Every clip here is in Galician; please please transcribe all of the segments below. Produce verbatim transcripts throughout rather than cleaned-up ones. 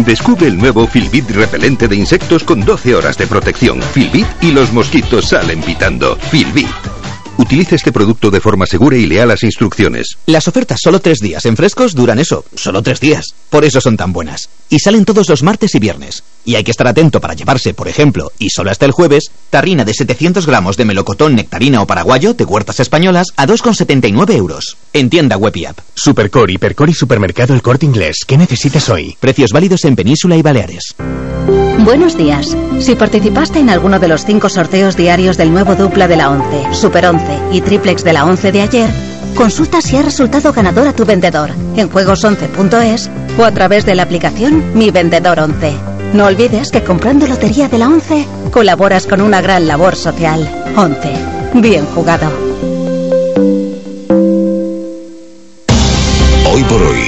Descubre el nuevo Filbit repelente de insectos con doce horas de protección. Filbit y los mosquitos salen pitando. Filbit. Utilice este producto de forma segura y lea las instrucciones. Las ofertas solo tres días en Frescos duran eso, solo tres días. Por eso son tan buenas. Y salen todos los martes y viernes. Y hay que estar atento para llevarse, por ejemplo, y solo hasta el jueves, tarrina de setecientos gramos de melocotón, nectarina o paraguayo de huertas españolas a dos con setenta y nueve euros. En tienda web y app. Supercore, Hipercore y Supermercado El Corte Inglés. ¿Qué necesitas hoy? Precios válidos en Península y Baleares. Buenos días. Si participaste en alguno de los cinco sorteos diarios del nuevo dupla de la once, Super once y triplex de la once de ayer, consulta si ha resultado ganador a tu vendedor en juegos once punto es o a través de la aplicación Mi Vendedor once. No olvides que comprando Lotería de la once colaboras con una gran labor social. once. Bien jugado. Hoy por hoy,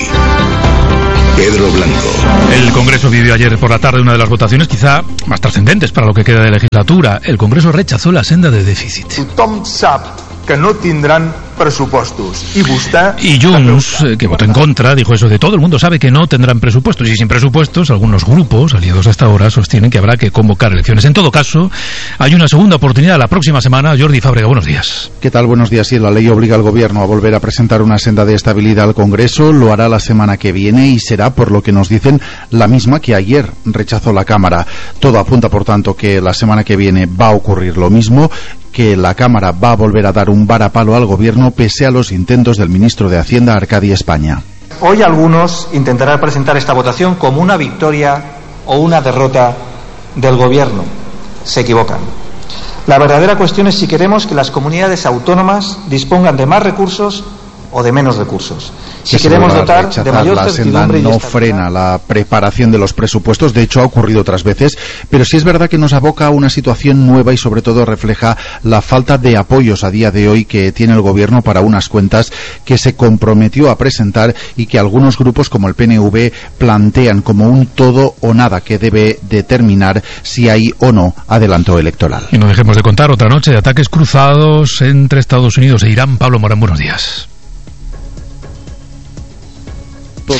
Pedro Blanco. El Congreso vivió ayer por la tarde una de las votaciones quizá más trascendentes para lo que queda de legislatura. El Congreso rechazó la senda de déficit. Tothom sap que no tindran presupuestos. Y vostè... Y Junts, eh, que votó en contra, dijo eso de todo el mundo sabe que no tendrán presupuestos. Y sin presupuestos, algunos grupos, aliados hasta ahora, sostienen que habrá que convocar elecciones. En todo caso, hay una segunda oportunidad la próxima semana. Jordi Fábrega, buenos días. ¿Qué tal? Buenos días. Sí, la ley obliga al Gobierno a volver a presentar una senda de estabilidad al Congreso. Lo hará la semana que viene y será, por lo que nos dicen, la misma que ayer rechazó la Cámara. Todo apunta, por tanto, que la semana que viene va a ocurrir lo mismo, que la Cámara va a volver a dar un varapalo al Gobierno pese a los intentos del ministro de Hacienda, Arcadi España. Hoy algunos intentarán presentar esta votación como una victoria o una derrota del Gobierno. Se equivocan. La verdadera cuestión es si queremos que las comunidades autónomas dispongan de más recursos o de menos recursos. Si queremos dotar de mayor certidumbre y no frena la preparación de los presupuestos, de hecho ha ocurrido otras veces, pero sí es verdad que nos aboca a una situación nueva y sobre todo refleja la falta de apoyos a día de hoy que tiene el Gobierno para unas cuentas que se comprometió a presentar y que algunos grupos como el P N V plantean como un todo o nada que debe determinar si hay o no adelanto electoral. Y no dejemos de contar otra noche de ataques cruzados entre Estados Unidos e Irán. Pablo Morán, buenos días.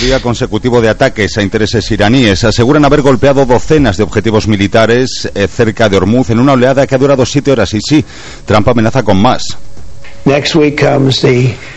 Día consecutivo de ataques a intereses iraníes. Aseguran haber golpeado docenas de objetivos militares eh, cerca de Hormuz en una oleada que ha durado siete horas. Y sí, Trump amenaza con más.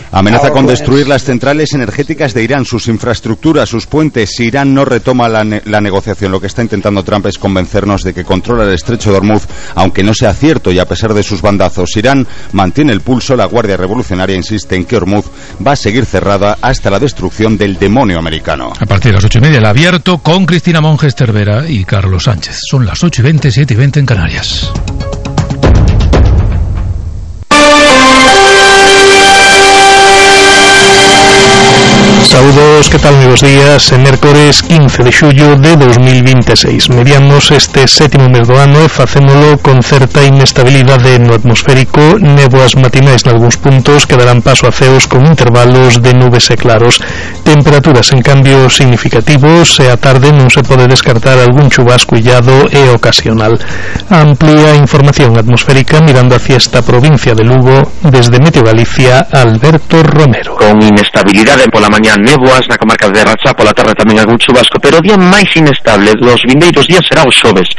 Amenaza con destruir las centrales energéticas de Irán, sus infraestructuras, sus puentes. Si Irán no retoma la, ne la negociación, lo que está intentando Trump es convencernos de que controla el estrecho de Hormuz, aunque no sea cierto y a pesar de sus bandazos. Irán mantiene el pulso. La Guardia Revolucionaria insiste en que Hormuz va a seguir cerrada hasta la destrucción del demonio americano. A partir de las ocho y media, el abierto con Cristina Monges Cervera y Carlos Sánchez. Son las ocho y veinte, siete y veinte en Canarias. Saúdos, que tal? Moi bons días. En mércores quince de xullo de dos mil vinte e seis. Mediamos este sétimo mes do ano e facémolo con certa inestabilidade no atmosférico, néboas matinais nalgúns puntos que darán paso a ceos con intervalos de nubes e claros. Temperaturas en cambio significativos e a tarde non se pode descartar algún chubasco illado e ocasional. Amplia información atmosférica mirando hacia esta provincia de Lugo desde Meteo Galicia, Alberto Romero. Con inestabilidade pola mañá néboas na comarca de Rachá, pola tarde tamén algún chubasco, pero o día máis inestable dos vindeiros días será o xoves.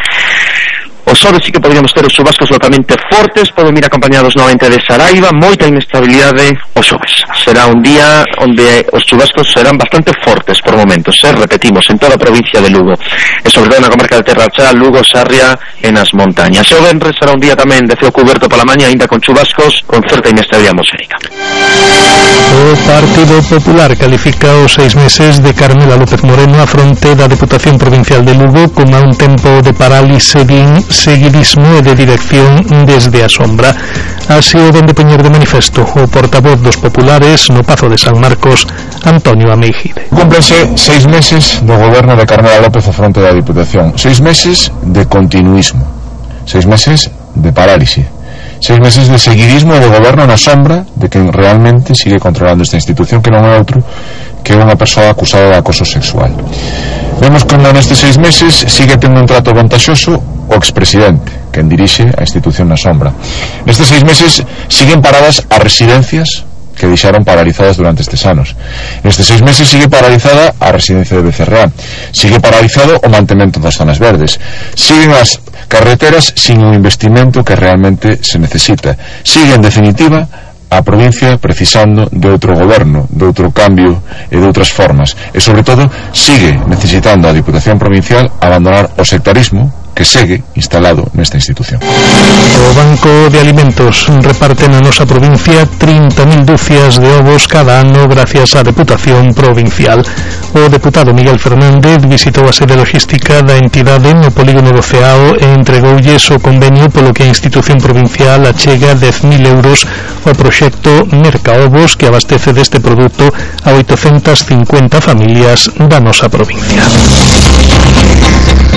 O xoves sí que podríamos ter os chubascos localmente fortes, poden ir acompañados novamente de Saraiva, moita inestabilidade o xoves. Será un día onde os chubascos serán bastante fortes por momentos, eh? repetimos, en toda a provincia de Lugo, e sobre todo na comarca de Terrachá, Lugo, Sarria e nas montañas. O venres será un día tamén de ceo cuberto pola mañá, ainda con chubascos, con certa inestabilidade atmosférica. O Partido Popular califica os seis meses de Carmela López Moreno a fronte da Deputación Provincial de Lugo como a un tempo de parálise, din seguidismo e de dirección desde a sombra. Así o vende poñer de manifesto o portavoz dos populares no Pazo de San Marcos, Antonio Ameijide. Cúmplense seis meses do goberno de Carmela López a fronte da Diputación, seis meses de continuismo, seis meses de parálise, seis meses de seguidismo e de goberno na sombra de quen realmente sigue controlando esta institución, que non é outro que unha persoa acusada de acoso sexual. Vemos como nestes seis meses sigue tendo un trato vantaxoso o expresidente, quen dirixe a institución na sombra. Nestes seis meses siguen paradas as residencias que deixaron paralizadas durante estes anos. Estes seis meses sigue paralizada a residencia de Becerra, sigue paralizado o mantemento das zonas verdes, siguen as carreteras sin un investimento que realmente se necesita, sigue en definitiva a provincia precisando de outro goberno, de outro cambio e de outras formas, e sobre todo sigue necesitando a Diputación Provincial abandonar o sectarismo que segue instalado nesta institución. O Banco de Alimentos reparte na nosa provincia trinta mil dúcias de ovos cada ano gracias á Deputación Provincial. O deputado Miguel Fernández visitou a sede logística da entidade no polígono do Ceao e entregoulles o convenio polo que a institución provincial achega dez mil euros ao proxecto Mercaovos, que abastece deste produto a oitocentas cincuenta familias da nosa provincia.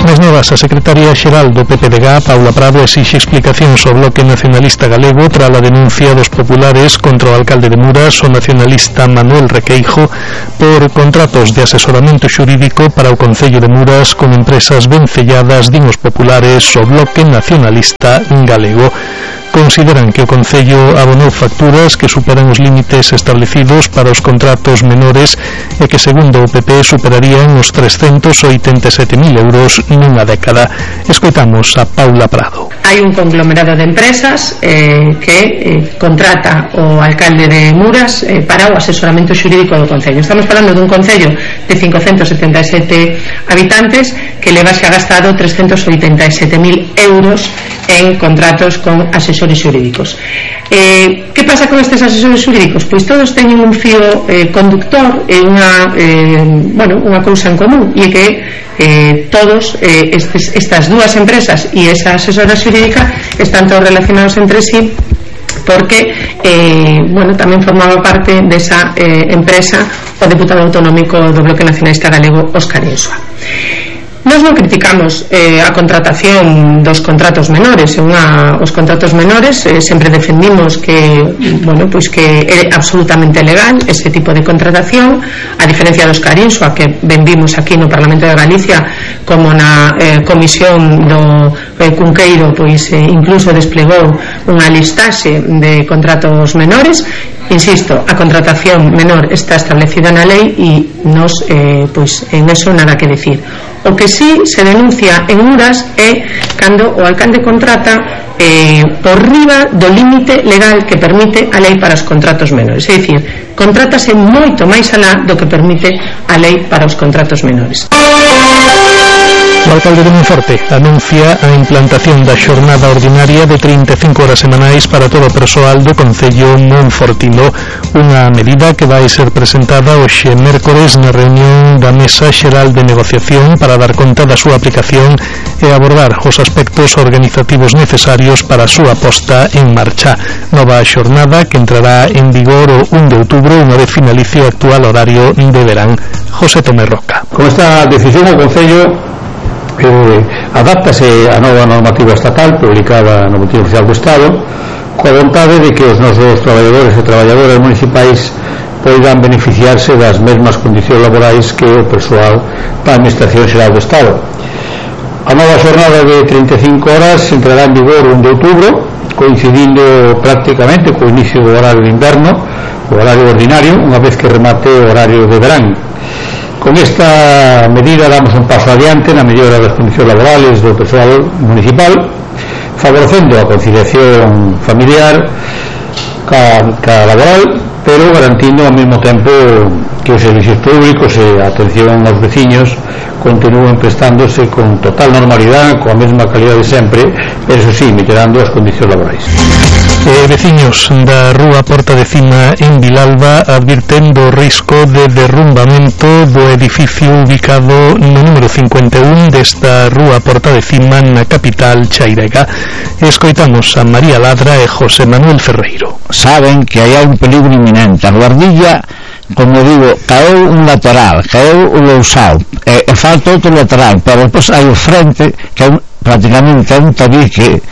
Nas novas, a secretaria xeral do P P D G, Paula Prado, exixe explicacións ao Bloque Nacionalista Galego tras a denuncia dos populares contra o alcalde de Muras, o nacionalista Manuel Requeijo, por contratos de asesoramento xurídico para o Concello de Muras con empresas vencelladas, din os populares, o Bloque Nacionalista Galego. Consideran que o Concello abonou facturas que superan os límites establecidos para os contratos menores e que, segundo o P P, superarían os trescentos oitenta e sete mil euros nunha década. Escoitamos a Paula Prado. Hai un conglomerado de empresas eh, que eh, contrata o alcalde de Muras eh, para o asesoramento xurídico do Concello. Estamos falando dun Concello de cincocentos setenta e sete habitantes que leva xa gastado trescentos oitenta e sete mil euros en contratos con asesores xurídicos. Eh, que pasa con estes asesores xurídicos? Pois todos teñen un fío eh, conductor e unha, eh, bueno, unha cousa en común, e que eh, todos eh, estes, estas dúas empresas e esa asesora xurídica están todos relacionados entre sí, porque eh, bueno, tamén formaba parte desa eh, empresa o deputado autonómico do Bloque Nacionalista Galego, Óscar Insua. Nós non criticamos eh, a contratación dos contratos menores, unha, os contratos menores eh, sempre defendimos que, bueno, pois que é absolutamente legal ese tipo de contratación, a diferencia dos Carinsua que vendimos aquí no Parlamento de Galicia, como na eh, comisión do eh, Cunqueiro, pois eh, incluso desplegou unha listaxe de contratos menores. Insisto, a contratación menor está establecida na lei e nos, eh, pois, en eso nada que decir. O que sí se denuncia en Muras é cando o alcalde contrata eh, por riba do límite legal que permite a lei para os contratos menores. É dicir, contrátase moito máis alá do que permite a lei para os contratos menores. O alcalde de Monforte anuncia a implantación da xornada ordinaria de trinta e cinco horas semanais para todo o persoal do Concello monfortino, unha medida que vai ser presentada hoxe mércores na reunión da Mesa Xeral de Negociación para dar conta da súa aplicación e abordar os aspectos organizativos necesarios para a súa posta en marcha. Nova xornada que entrará en vigor o un de outubro, unha vez finalice o actual horario de verán. José Tomé Roca. Con esta decisión o Concello eh, adáptase a nova normativa estatal publicada no Boletín Oficial do Estado, coa vontade de que os nosos traballadores e traballadoras municipais poidan beneficiarse das mesmas condicións laborais que o persoal da Administración Xeral do Estado. A nova xornada de trinta e cinco horas entrará en vigor o un de outubro, coincidindo prácticamente co inicio do horario de inverno, o horario ordinario, unha vez que remate o horario de verán. Con esta medida damos un paso adiante na mellora das condicións laborales do persoal municipal, favorecendo a conciliación familiar ca, ca laboral, pero garantindo ao mesmo tempo que os servicios públicos e a atención aos veciños continúen prestándose con total normalidade, coa mesma calidad de sempre, pero eso sí, mellorando as condicións laborais. E veciños da rúa Porta de Cima en Vilalba advirten do risco de derrumbamento do edificio ubicado no número cincuenta e un desta rúa Porta de Cima na capital chairega. Escoitamos a María Ladra e José Manuel Ferreiro. Saben que hai un peligro inminente. A guardilla, como digo, caeu un lateral, caeu o lousao, e, e falta outro lateral, pero depois hai o frente que é un, prácticamente é un tabique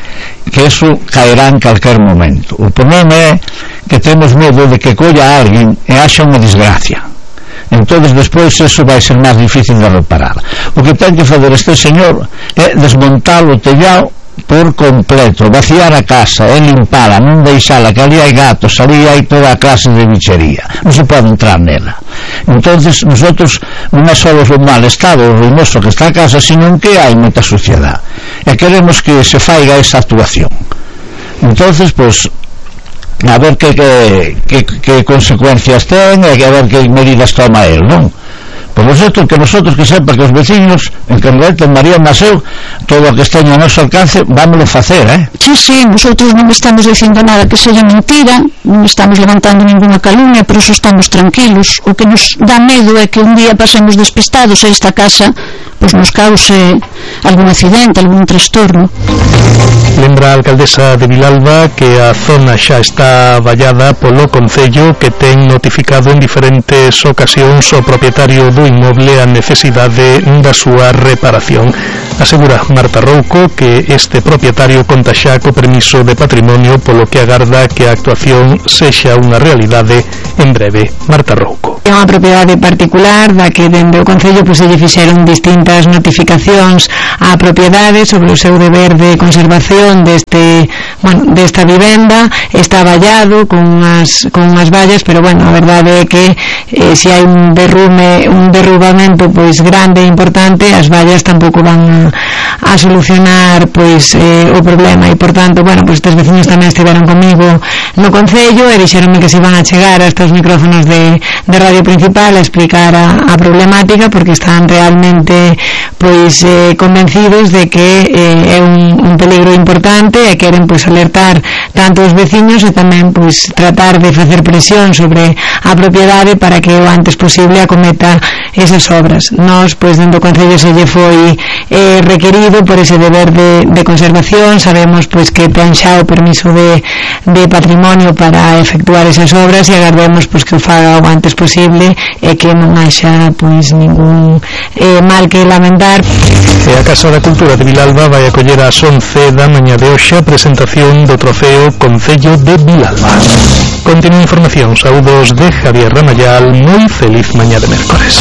que eso caerá en calquer momento. O problema é que temos medo de que colla a alguén e haxa unha desgracia, entonces despois eso vai ser máis difícil de reparar. O que ten que fazer este señor é desmontar o tellado por completo, vaciar a casa e limpala, non deixala, que ali hai gatos, ali hai toda a clase de bichería, non se pode entrar nela. Entonces nosotros non é só o mal estado, o ruinoso que está a casa, sino que hai moita suciedade, e queremos que se faiga esa actuación. Entonces, pues, a ver que, que, que, que consecuencias ten e a ver que medidas toma él, non? Por vosotros, que nosotros, que sepa que os vecinos en Cangalete, en María Maseu, todo o que esteña a noso alcance, vámoslo facer, eh? Sí, sí, nosotros non estamos dicindo nada que seja mentira, non estamos levantando ninguna calumnia, pero eso estamos tranquilos. O que nos dá medo é que un día pasemos despistados e esta casa pois nos cause algún accidente, algún trastorno. Lembra a alcaldesa de Vilalba que a zona xa está vallada polo Concello, que ten notificado en diferentes ocasións o propietario do inmoble a necesidade da súa reparación. Asegura Marta Rouco que este propietario conta xa co permiso de patrimonio, polo que agarda que a actuación sexa unha realidade en breve. Marta Rouco. É unha propiedade particular da que dende o Concello pois se lle fixeron distintas notificacións á propiedade sobre o seu deber de conservación deste, bueno, desta vivenda. Está vallado con unhas, con unhas vallas, pero bueno, a verdade é que eh, se hai un derrume, un derrubamento pois grande e importante, as vallas tampouco van a, a solucionar pois eh, o problema, e por tanto, bueno, pois estes veciños tamén estiveron comigo no Concello e dixeronme que se iban a chegar a estes micrófonos de, de Radio Principal a explicar a, a problemática, porque están realmente pois eh, convencidos de que eh, é un, un peligro importante e queren pois alertar tanto os veciños e tamén pois tratar de facer presión sobre a propiedade para que o antes posible acometa esas obras. Nós pois dentro do Concello se lle foi eh, requerido por ese deber de, de conservación, sabemos pois que ten xa o permiso de, de patrimonio para efectuar esas obras e agardemos pois que o faga o antes posible e que non haxa pois ningún eh, mal que lamentar. E a Casa da Cultura de Vilalba vai acoller ás once da mañá de hoxe a presentación do trofeo Concello de Vilalba. Continúa información, saúdos de Javier Ramayal, moi feliz mañá de mércores.